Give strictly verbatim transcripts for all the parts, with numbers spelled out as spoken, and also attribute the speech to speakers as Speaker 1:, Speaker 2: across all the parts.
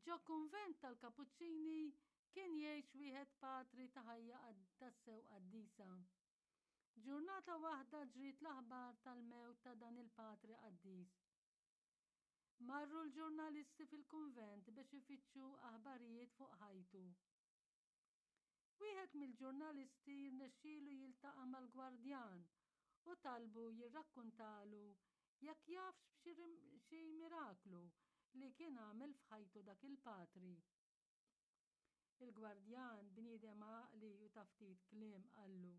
Speaker 1: Ġo kunvent tal-Kapuċċini kien jgħix wieħed patri ta' ħajja tassew qaddisa. Ġurnata waħda ġriet l-aħbar tal-mewt ta' dan il-patri qaddis. Marru l-ġurnalisti fil-kunvent biex ifittxu aħbarijiet fuq ħajtu. Wieħed mill-ġurnalisti rnexxielu jiltaqa' mal-gwardjan u talbu jirrakkuntalu jekk jafx b'xi miraklu li kien għamel f'ħajtu dak il-patri. Il-gwardjan, bniedem għaqli u ta' ftit kliem, qallu: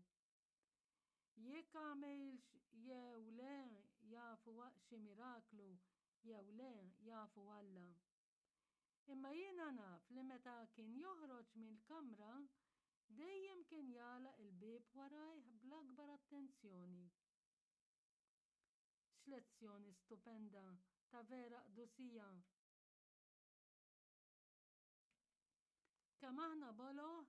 Speaker 1: "Jekk għamilx jew le jafu xi miraklu jew le jafu Alla. Imma jiena naf li meta kien joħroġ mill-kamra dejjem kien jagħlaq il-bieb warajh bl-akbar attenzjoni." X'lezzjoni stupenda ta' vera qdusija! Kemm aħna boloh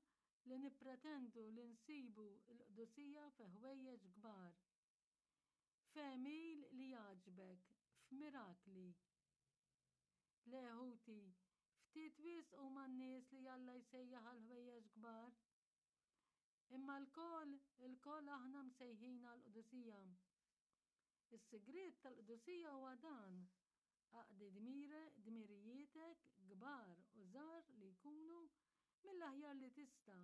Speaker 1: li nippretendu li nsibu l-qdusija fi ħwejjeġ kbar, f'għemil li jgħaġġbek, f'mirakli. Le ħuti, ftit wisq huma n-nies li Alla jsejjaħ għal ħwejjeġ kbar. Imma lkoll, ilkoll aħna msejħin għall-qdusija. Is-sigriet tal-qdusija huwa dan, aqdi dmire, dmirijietek, kbar u żgħar li jkunu, mill-aħjar li tista',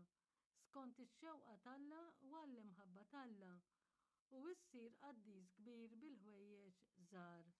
Speaker 1: skont ix-xewqa t'Alla u għall-imħabba t'Alla, u issir qaddis kbir bil-ħwejjeġ żgħar.